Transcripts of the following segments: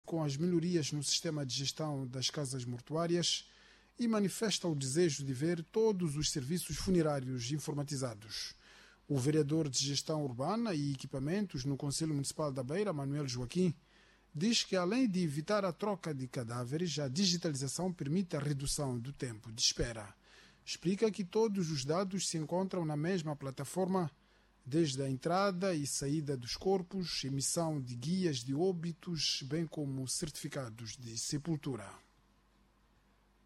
Com as melhorias no sistema de gestão das casas mortuárias e manifesta o desejo de ver todos os serviços funerários informatizados. O vereador de Gestão Urbana e Equipamentos no Conselho Municipal da Beira, Manuel Joaquim, diz que, além de evitar a troca de cadáveres, a digitalização permite a redução do tempo de espera. Explica que todos os dados se encontram na mesma plataforma, desde a entrada e saída dos corpos, emissão de guias de óbitos, bem como certificados de sepultura.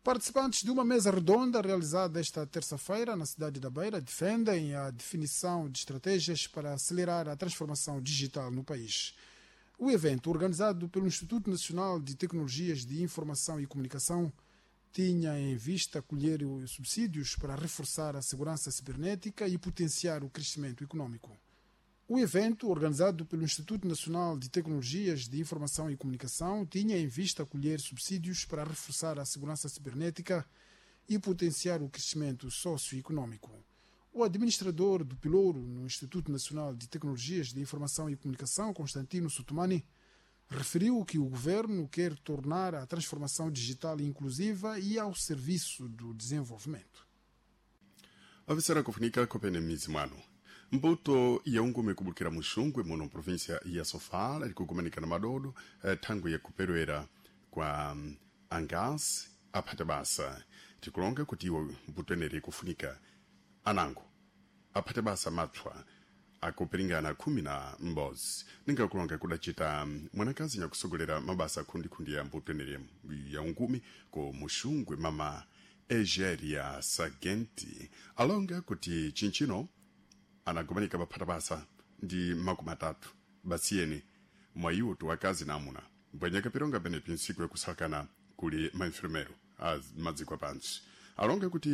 Participantes de uma mesa redonda realizada esta terça-feira na cidade da Beira defendem a definição de estratégias para acelerar a transformação digital no país. O evento, organizado pelo Instituto Nacional de Tecnologias de Informação e Comunicação, tinha em vista colher subsídios para reforçar a segurança cibernética e potenciar o crescimento econômico. O evento, organizado pelo Instituto Nacional de Tecnologias de Informação e Comunicação, tinha em vista colher subsídios para reforçar a segurança cibernética e potenciar o crescimento socioeconômico. O administrador do Pilouro no Instituto Nacional de Tecnologias de Informação e Comunicação, Constantino Sutumani, referiu que o governo quer tornar a transformação digital inclusiva e ao serviço do desenvolvimento. Avisera kufunika kopene mizi mwanu mbuto ya ungume kubukira muxungwe muno província ya Sofala iri kugumanika na madodo thangwi yakuperwera kwa angasi aphata basa. Tikulonga kuti iwo mbuto eneri ikufunika anango aphate basa mapswa akupiringana 11. Ningakulonga kudacita mwanakazi nyakusogolera mabasa akhundikhundi ya mbuto eneri ya ungumi ku muxungwe, mama Egeria Sagenti, alonga kuti chinchino anagumanika paphata basa ndi 30 basiyeni mwayiwo tuwakazi na amuna, mbwenyeka pironga penepi ntsiku yakusalakana kuli mainfirmero a madziko apantsi. Alonga kuti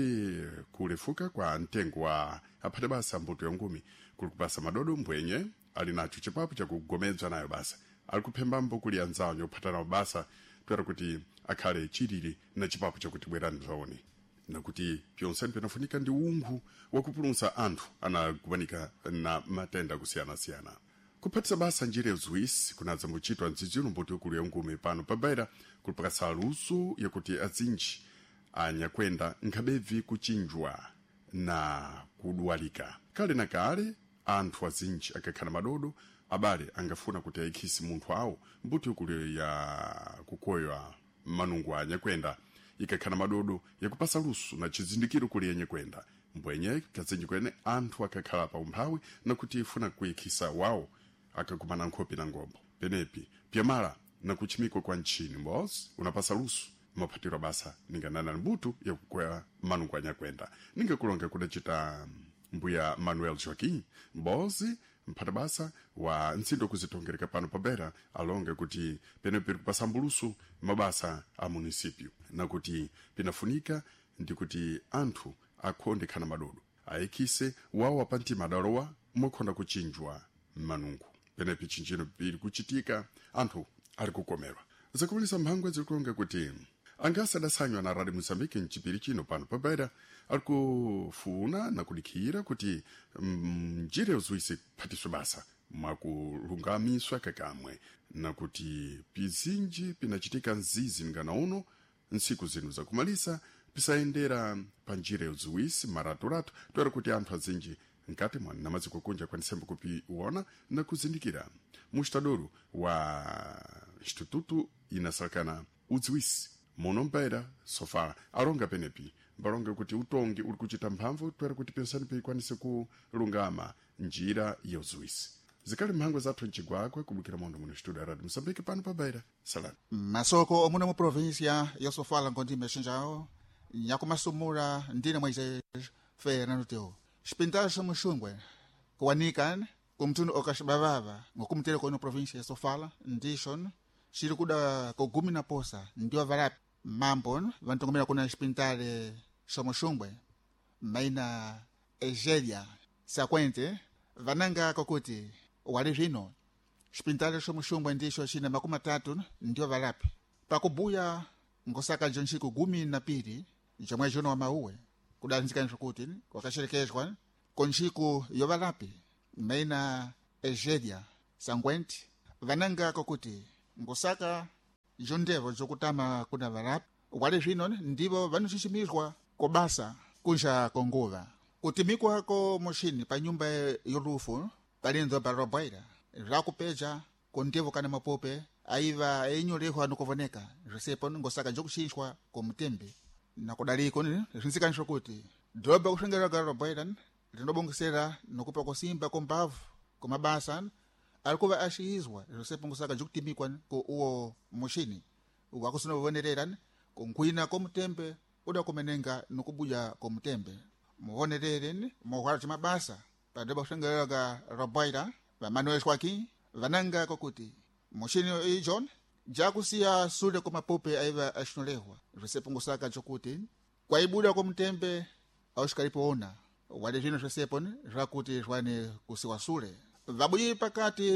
kulefuka kwa mtengo wa aphate basa mbuto ya ngumi kuli kupasa madodo, mbwenye ali nacho chipapo chakugomedzwa nayo basa ali kuphembambo kuli anzawo nyophata nawo basa toera kuti akhale chilili na chipapo chakuti bwerani bzaone, nakuti pyonseni pinafunika ndi unkhu wakupulumsa anthu anagumanika na matenda akusiyana-siyana. Kuphatisa basa njira yaziwisi kunadza muchitwa mdzidzino mbuto ikulu ya ngumi pano pabaira kulipakasa luso yakuti azinji anyakwenda nkhabebvi kuchinjwa na kudwalika. Kale na kale anthu azinji akakhala madodo, abale angafuna kuti ayikhisi munthu awo. Mbuto ikulu ya kukoywa manungu anyakwenda ikakhala madodo yakupasa luso na chizindikiro kuli yenye kwenda, mbwenye kazinji kwene anthu akakhala pa umphawi nakuti ifuna kuyikhisa wawo akakumana nkhopi na ngombo penepi pyamala na kuchimikwa kwa ntchini mbos unapasa luso maphatiro basa ninganana mbuto yakukwera manungu anyakwenda. Ningakulonga kudacita mbuya Manuel Joaquim mbozi, mphata basa wa ntsindo kuzitongereka pano pabera, alonge kuti penepi kupasa mbulusu mabasa a munisipyu nakuti pinafunika ndi kuti anthu akhonde khana madodo ayikhise wawo apantima adalowa mokhonda kuchinjwa manungu. Penepi chinjino pili kuchitika anthu ali kukomerwa. Zakumalisa mphangwa zilikulonga kuti angasi adasanywa na Radio Moçambique mchipiri chino pano pabaira ali kufuna na kudikhira kuti njira yoziwisi kuphatiswe basa mwakulungamiswa kakamwe, nakuti pizinji pinachitika mzizi ngana uno ntsiku zino zakumalisa pisayendera pa njira yoziwisi maraturato, toera kuti anthu azinji nkati mwa namaziko kunja kwanisembe kupiwona na kuzindikira. Mustadoro wa instituto inasalakana udziwisi muno mpaira Sofala alonga penepi mbalonga kuti utongi uli kuchita mphamvu toera kuti pensani pikwanise kulungama njira yoziwisi. Zikali mphangwa zathu mcigwagwa kubukira mondo muno studio ya Radio Moçambique pano pabaira salani. Masoko omuno mu província ya Sofala ngondime xinjawo nyakumasumula ndine Moisés Fernando Teo. Xipintaxo xa muxungwe kuwanika kumtundu okaxibavava ngokumutele kono província ya Sofala ndixo xili kuda kogumi na posa ndio valapi mambo vantongomela kuna xipintale xa muxungwe maina Egelia Sakwente vananga kokuti wali zvino xipintale xa muxungwe ndixo xina 30 ndio valapi pakubuya ngosaka njo nxiku 12 ja mwezi uno wa mauwe kudanzikani zvokuti kwakaxerekezwa konxiku yo valapi maina Egelia Sangwente vananga kokuti ngosaka. Jondevo jokutama kuna varapi wale zvino ndivo vanoxiximizwa kobasa kunja konguva kutimikwa ko muxini pa nyumba yolufu palinzo pa Roboira zvakupeja kondevo kana mapope aiva einyolehwa nokovoneka zvisepo ngosaka jokuxixwa komutembe nakudaliko zvinzikanisa kuti dhoba kuxengeraga Roboira rinobongesera nokupa kusimba kombavu komabasa ari kuva axiyizwa zvisepo ngosaka jokutimikwa ko uwo muxini wakusonovonerera kunkhwina komutembe uda kumenenga nokubuya komutembe muvonerere muhwara cimabasa padhoba kuxengeraga Roboira vamanoexwaki vananga kokuti muxini ijo jakusiya sule komapope aiva axinolehwa zvisepo ngosaka cokuti kwaibuda komutembe auxikalipoona wale zvino zvisepo zvakuti zwane kusiwa sule vabuyi pakati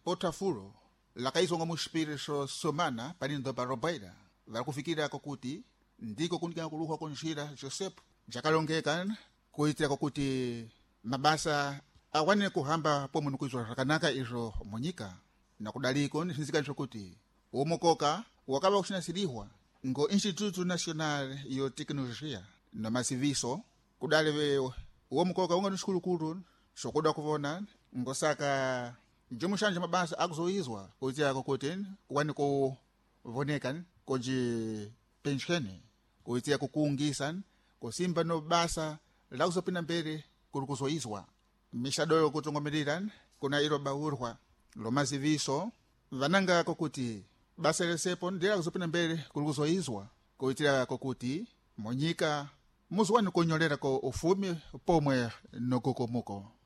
potafulo lakaizwa nga muxipiriso somana panindo pa Roboira vari kufikira kokuti ndiko kunikana kuluhwa konjira Joseph jakalongeka kuitira kokuti mabasa awane kuhamba pomwe nikuizwa zvakanaka izvo munyika nakudaliko zvinzikanisa kuti umukoka wakava kuxinasirihwa ngo Instituto Nacional yo Tecnologia na masiviso kudali uwo mukoka unga ni xikulukulu xokuda kuvona ngosaka njomuxanja mabasa akuzoizwa kuitira kokuti kuwani kuvoneka koji pensheni kuitira kukuungisa kusimba no basa lakuzopinda mbere kuri kuzoizwa mixado yokutongomerera kuna ilo baurwa lomaziviso vananga kokuti basa lesepo ndila kuzopinda mbere kuri kuzoizwa kuitira kokuti munyika muziwani kunyolera ko ufumi pomwe nokukomuko.